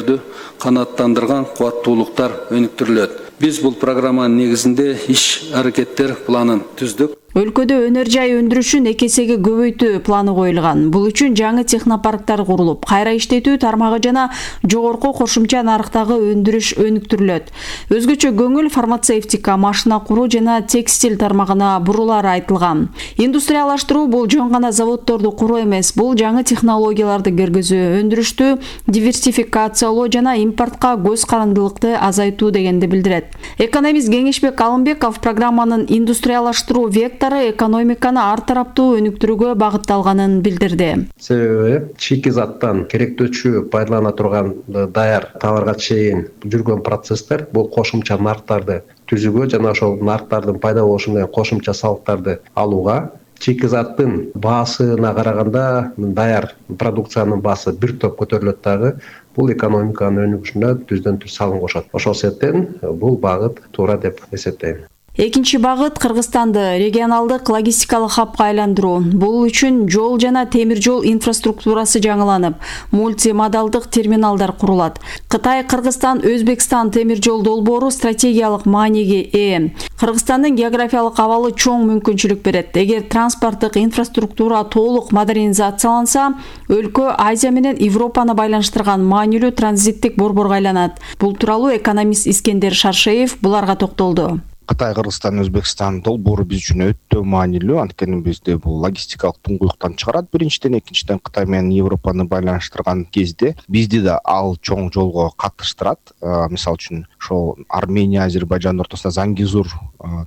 өнүктүүлөрдү канааттандырган кубаттуулуктар өнүктүрүлөт. Биз бул программанын негизинде иш-аракеттер планын түздүк. Өлкөдө өнөр жай өндүрүшүн 2 эсеге көбөйтүү планы коюлган. Бул үчүн жаңы технопарктар курулуп, кайра иштетүү тармагы жана жогорку кошумча нарыктагы өндүрүш өнүктүрүлөт. Өзгөчө көңүл фармацевтика, машина куруу жана текстиль тармагына бурулары айтылган. Индустриялаштыруу бул жөн гана заводдорду куруу эмес, бул жаңы технологияларды киргизүү, өндүрүштү диверсификациялоо жана импортко көз карандылыкты азайтуу дегенди билдирет. Экономист Кеңешбек Алымбеков программанын индустриялаштыруу вектору экономиканы ар тараптуу өнүктүрүүгө багытталганын билдирди. Себеби шикизаттан керектөөчү пайдалана турган даяр товарга чейин жүргөн процесстер бул кошумча нарыктарды түзүүгө жана ошол нарыктардын пайда болушу менен кошумча салыктарды алууга, шикизаттын баасына караганда даяр продукциянын баасы бир топ көтөрүлөт дагы. Бул экономиканын өнүгүшүнө түздөн түз салым кошот. Ошол себептен бул багыт туура деп эсептейм. Экинчи багыт Кыргызстанды регионалдык логистикалык хабка айландыруу. Бул үчүн жол жана темир жол инфраструктурасы жаңыланып, мультимодалдык терминалдар курулат. Кытай-Кыргызстан Өзбекстан темир жол долбоору стратегиялык мааниге ээ. Кыргызстандын географиялык абалы чоң мүмкүнчүлүк берет. Эгер транспорттук инфраструктура толук модернизацияланса, өлкө Азия менен Европаны байланыштырган маанилүү транзиттик борборго айланат. Бул тууралуу экономист Искендер Шаршеев буларга токтолду. Кытай, Кыргызстан, Өзбекстан долбоору биз үчүн өтө маанилүү. Анткени бизде бул логистикалык туңгуюктан чыгарат биринчиден, экинчиден Кытай менен Европаны байланыштырган кезде бизди да ал чоң жолго катыштырат. Мисалы үчүн ошол Армения, Азербайжан ортосунда Зангизур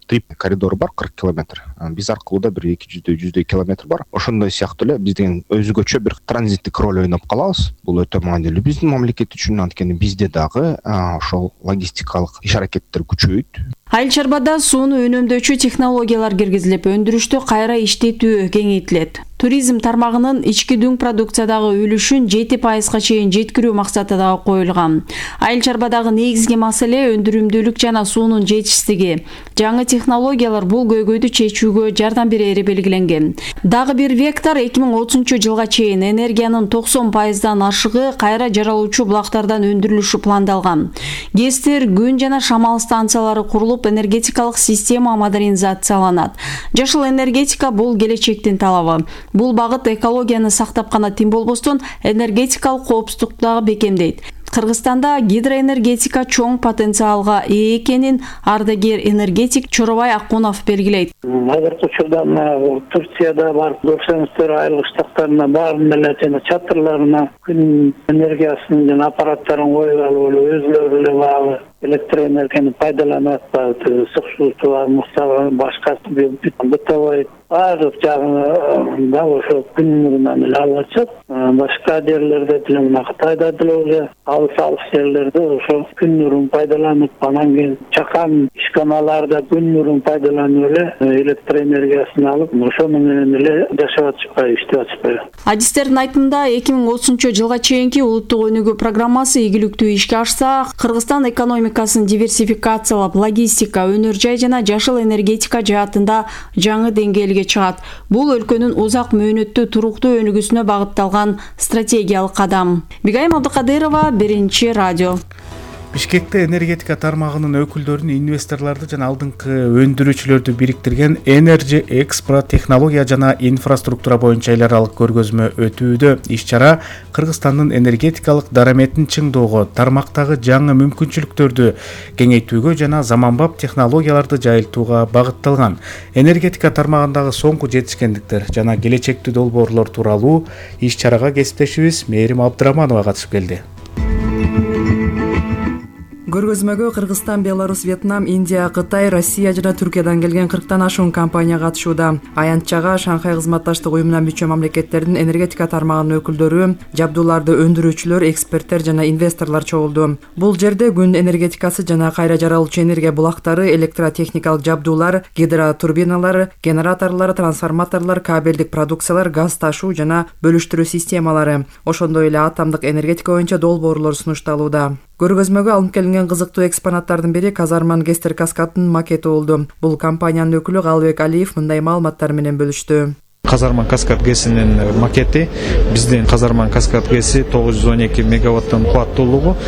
трип коридору бар 40 километр. Биз аркылуу да бир 200 километр бар. Ошондой сыяктуу эле биздин өзгөчө бир транзиттик роль ойноп калабыз. Бул өтө маанилүү биздин мамлекет үчүн, анткени бизде дагы ошол логистикалык иш-аракеттер күчөйт. Айыл чарбада сууну үнөмдөчү технологиялар киргизилип, өндүрүштү кайра иштетүү кеңейтилет. Туризм тармагынын ички дүң продукциядагы үлүшүн 7% чейин жеткирүү максаты дагы коюлган. Айыл чарбадагы негизги маселе өндүрүмдүүлүк жана суунун жетишсиздиги. Жаңы технологиялар бул көйгөйдү чечүүгө жардам берери белгиленген. Дагы бир вектор 2030-жылга чейин энергиянын 90%дан ашыгы кайра жаралуучу булактардан өндүрүлүшү пландалган. ГЭСтер, күн жана шамал станциялары курулуп, энергетикалык система модернизацияланат. Жашыл энергетика бул келечектин талабы. Бул багыт экологияны сактап гана тим болбостон энергетикалык коопсуздукту дагы бекемдейт. Кыргызстанда гидроэнергетика чоң потенциалга ээ экенин ардагер энергетик Чоробай Акунов белгилейт. Азыркы учурда Турцияда бар көрсөңүздөр айыл кыштактарына баарын эле жана чатырларына күн энергиясынын жана аппараттарын коюп алып өзүлөрү эле баягы электроэнергияны пайдаланып атпайбы, ысык суусу бар, муктагы башка бытовой баардык жагын да ошо күн нурунан эле алып атышат. Башка жерлерде деле мына Кытайда деле уже алыс жерлерде ошо күн нурун пайдаланып, анан кийин чакан ишканаларда күн нурун пайдаланып эле электроэнергиясын алып, ошону менен эле жашап атышпайбы, иштеп атышпайбы. Адистердин айтымында 2030-жылга чейинки улуттук өнүгүү программасы ийгиликтүү ишке ашса, Кыргызстан экономикасын диверсификациялап, логистика, өнөр жай жана жашыл энергетика жаатында жаңы деңгээлге чыгат. Бул өлкөнүн узак мөөнөттүү туруктуу өнүгүүсүнө багытталган стратегиялык кадам. Бигайым Абдыкадырова, Биринчи радио. Бишкекте энергетика тармагынын өкүлдөрүн, инвесторлорду жана алдыңкы өндүрүүчүлөрдү бириктирген Energy Expo технология жана инфраструктура боюнча эл аралык көргөзмө өтүүдө. Иш-чара Кыргызстандын энергетикалык дараметин чыңдоого, тармактагы жаңы мүмкүнчүлүктөрдү кеңейтүүгө жана заманбап технологияларды жайылтууга багытталган. Энергетика тармагындагы соңку жетишкендиктер жана келечектүү долбоорлор тууралуу иш-чарага кесиптешибиз Мээрим Абдыраманова катышып келди. Көргөзмөгө Кыргызстан, Беларусь, Вьетнам, Индия, Кытай, Россия жана Түркиядан келген 40тан ашуун компания катышууда. Аянтчага Шанхай кызматташтык уюмуна мүчө мамлекеттердин энергетика тармагынын өкүлдөрү, жабдууларды өндүрүүчүлөр, эксперттер жана инвесторлор чогулду. Бул жерде күн энергетикасы жана кайра жаралуучу энергия булактары, электротехникалык жабдуулар, гидротурбиналар, генераторлор, трансформаторлор, кабелдик продукциялар, газ ташуу жана бөлүштүрүү системалары, ошондой эле атомдук энергетика боюнча долбоорлор сунушталууда. Көргөзмөгө алынып келинген кызыктуу экспонаттардын бири Казарман Гестер каскадынын макети болду. Бул компаниянын өкүлү Калыбек Алиев мындай маалыматтар менен бөлүштү. Казарман Каскад ГЭСинин макети биздин Казарман Каскад ГЭСи 912 мегаваттын кубаттуулугу.